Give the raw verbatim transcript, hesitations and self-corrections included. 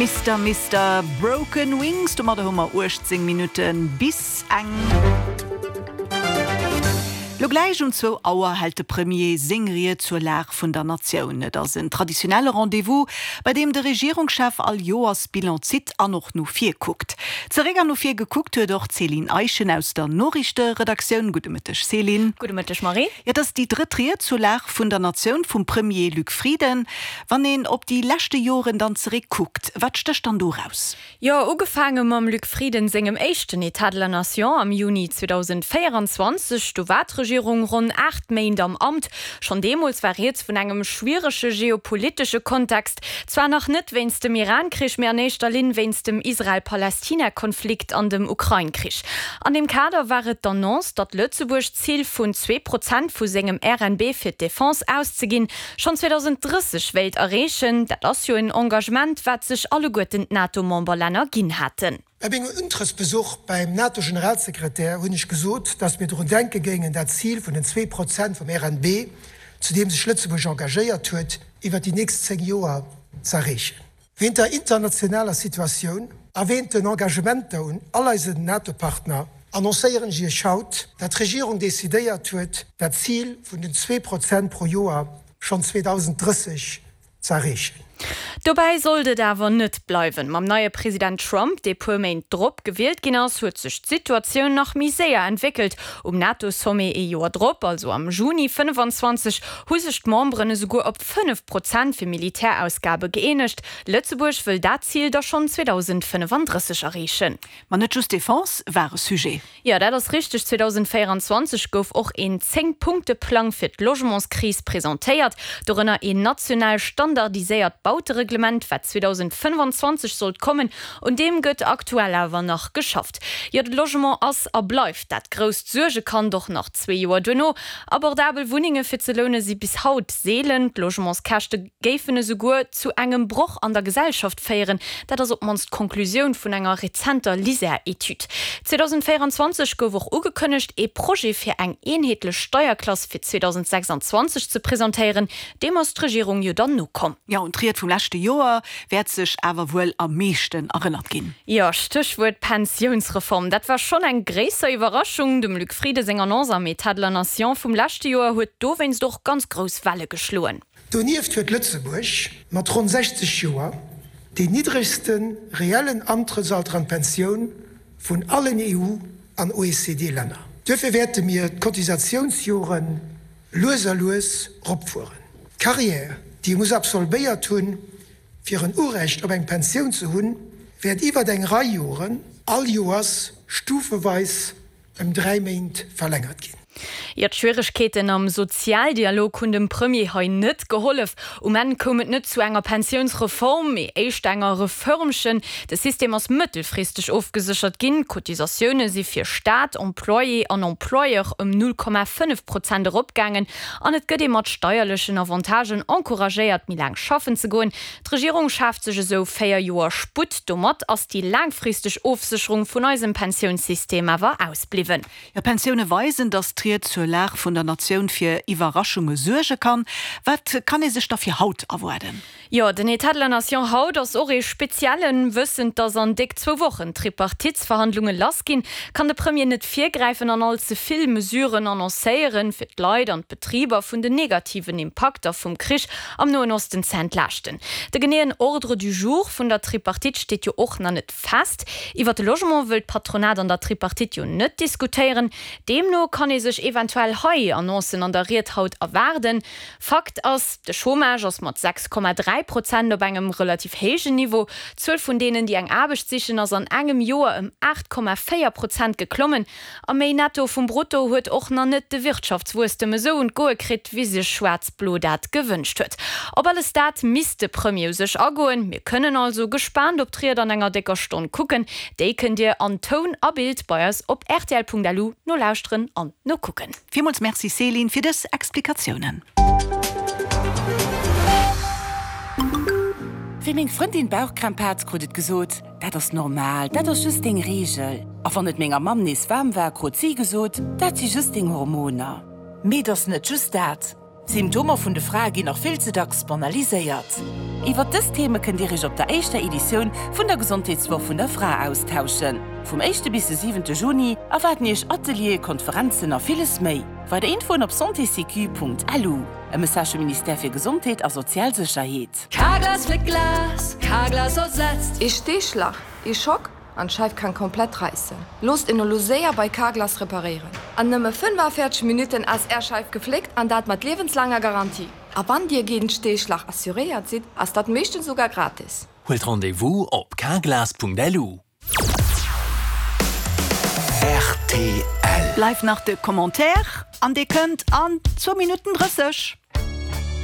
Mister Mister Broken Wings, domadder hu mer uechtzéng Minutte bis eng. Lo gläich um zwou Auer hält de Premier seng Ried zur Lag vun der Natioun. Et ass en traditionelle Rendez-vous, bei deem de Regierungschef all Joers Bilan zitt an och no vir kuckt. Zeréck an no vir gekuckt huet och d'Céline Eischen aus der Noriichteredaktioun. Gudde Mëtteg Céline. Gudde Mëtteg Marie. Et ass déi drëtt Ried zur Lag vun der Natioun vum Premier Luc Frieden. Wann een op déi leschte Joren dann zeréck kuckt, wat stécht dann do eraus? Jo, ugefaange mam Luc Frieden sengem éischten État de la Nation am Juni zweedausendvéierenzwanzeg, do war d'Regierung ronn aacht Méint am Amt. Schonn deemools war rieds vun engem schwierege geopolitesche Kontext, zwar nach net wéinst dem Iran-Krich, mee an éischter Linn wéinst dem Israel-Palästina-Konflikt an dem Ukrain-Krich. An deem Kader war et d'Annonce, datt Lëtzebuerg d'Zil vun zwee Prozent vu sengem R N B fir d'Defense auszeginn, schonn zweedausendrësseg wéilt erreechen. Dat ass jo en Engagement, wat sech alleguerten d'NATO-Memberlänner ginn haten. Bei mengem Untrëttsbesuch beim NATO-Generalsekretär hunn ech gesot, datt mir drun denke géingen, dat Zil vun den zwee Prozent vum R N B, zu deem sech Lëtzebuerg engagéiert huet, iwwert déi nächst zéng Joer z'erreechen. Wéint der internationaler Situatioun a wéint den Engagementer un all eisen NATO-Partner annoncéieren ech Iech haut, datt d'Regierung decidéiert huet, dat Zil vun den zwee Prozent pro Joer schonn zweedausendrësseg z'erreechen. Dobäi sollt et awer net bleiwen. Mam neie President Trump, dee puer Méint drop gewielt ginn ass, huet sech d'Situatioun nach méi séier entwéckelt. Um NATO-Sommet ee Joer drop, also am Juni fënnefenzwanzeg, hu sech d'Memberen esouguer op fënnef Prozent fir Militärausgabe gëeenegt. Lëtzebuerg wëll dat Zil da schonn zweedausendfënnefandrësseg erreechen. Ma net just Defense war e Sujet. Jo, dat ass richteg. zweedausendvéierenzwanzeg gouf och een Zéng-Punkte-Plang fir d'Logementskris presentéiert, dorënner een national standardiséiert Bautereglement, wat zweedausendfënnefenzwanzeg sollt kommen. Un deem gëtt aktuell awer nach geschafft. Jo, de Logement ass a bleift dat grousst Suergekand och nach zwee Joer duerno. Abordabel Wunnenge fir ze loune si bis haut seelen. D'Logementskäschte géifen esouguer zu engem Broch an der Gesellschaft féieren. Dat ass op d'mannst d'Konklusioun vun enger rezenter LISER-Etüd. zweedausendvéierenzwanzeg gouf och ugekënnegt, ee Projet fir eng eenheetlech Steierklass fir zweedausendsechsanzwanzeg ze presentéieren. Deem ass d'Regierung jo dann nokomm. Jo, an d'Ried vum leschte Joer wäert sech awer wuel am meeschten erënnert ginn. Jo, Stéchwuert Pensiounsreform. Dat war schonn eng gréisser Iwwerraschung. Dem Luc Frieden seng Annonce am État de la Nation vum leschte Joer huet dowéinst och ganz grouss Welle geschloen. Donieft huet Lëtzebuerg mat ronn sechzeg Joer deen niddregste reellen Antrëttsalter an d'Pensioun vun allen E U an O E C D-Länner. Duerfir wäerte mir d'Cotisatiounsjore lues a lues eropfueren. D'Carrière, déi ee muss absolvéiert hunn, fir en Urecht op eng Pensioun ze hunn, wäert iwwert eng Rei Joren all Joers stufeweis ëm dräi Méint verlängert ginn. Jo, d'Schwieregkeeten am Sozialdialog hunn dem Premier hei net gehollef. Um Enn koum et net zu enger Pensiounsreform, mee éischter enger Reförmchen. De System ass mëttelfristeg ofgeséchert ginn. D'Cotisatioune si fir Staat, Employé an Employeur ëm null Komma fënnef Prozent eropgaangen an et gëtt ee mat steierlechen Avantagen encouragéiert, méi laang schaffen ze goen. D'Regierung schaaft sech esou véier Joer Sputt. Domat ass déi laangfristeg Ofsécherung vun eisem Pensiounssystem awer ausbliwwen. Jo, Pensioune weisen, datt d'Ried zur Lag vun der Natioun fir Iwwerraschunge suerge kann. Wat kann ee sech da fir haut erwaarden? Jo, den État de la Nation haut ass och ee speziellen. Wëssend, datt an déck zwou Wochen d'Tripartitsverhandlunge lassginn, kann de Premier net virgräifen an all ze vill Mesuren annoncéieren, fir d'Leit an d'Betriber vun den negativen Impakter vum Krich am Noen Osten ze entlaaschten. De geneeën Ordre du jour vun der Tripartite steet jo och nach net fest. Iwwer de Logement wëll d'Patronat an der Tripartite jo net diskutéieren. Deemno kann ee sech eventuell hei Annoncen an der Ried haut erwaarden. Fakt ass, De Chômage ass mat sechs Komma dräi Prozent op engem relativ héijen Niveau. D'Zuel vun deenen, déi eng Aarbecht sichen, ass an engem Joer ëm aacht Komma véier Prozent geklommen. A méi Netto vum Brutto huet och nach net de Wirtschaftswuesstem esou un d'Goe kritt, wéi sech Schwaarz-Blo dat gewënscht huet. Op alles dat misst de Premier u sech agoen. Mir kënnen also gespaant op d'Ried an enger décker Stonn kucken. Déi kënnt Dir an Toun a Bild bei eis op rtl Punkt L U nolauschteren an nokucken. Villmools Merci Céline fir dës Explikatiounen. Wéi meng Frëndin Bauchkrämp hat, krut et gesot, dat ass normal, dat ass just deng Reegel. A wann et menger Mamm nees waarm war, krut si gesot, dat si just deng Hormoner. Mee et ass net just dat. Symptomer vun de Frae ginn nach vill ze dacks banaliséiert. Iwwer dës Theme kënnt Dir Iech op der éischter Editioun vun der Gesondheetswoch vun der Fra austauschen. Vum éischte bis de siwente Juni erwaarden Iech Atelieren, Konferenzen a villes méi. Weider Infoen op santésécu.lu. E Message vum Ministère fir Gesondheet a sozial Sécherheet. Carglass fléckt Glas, Carglass ersetzt. Ee Steeschlag, ee Schock an d'Scheif kann komplett räissen. Loosst en elo séier bei Carglass reparéieren. An nëmme fënnefavierzeg Minutten ass Är Scheif gefléckt an dat mat liewenslaanger Garantie. A wann Dir géint Steeschlag assuréiert sidd, ass dat meeschtens souguer gratis. Huelt Rendez-vous op carglass.lu. Rtl. Bleift nach de Commentaire an dee kënnt an zwou Minutten drësseg.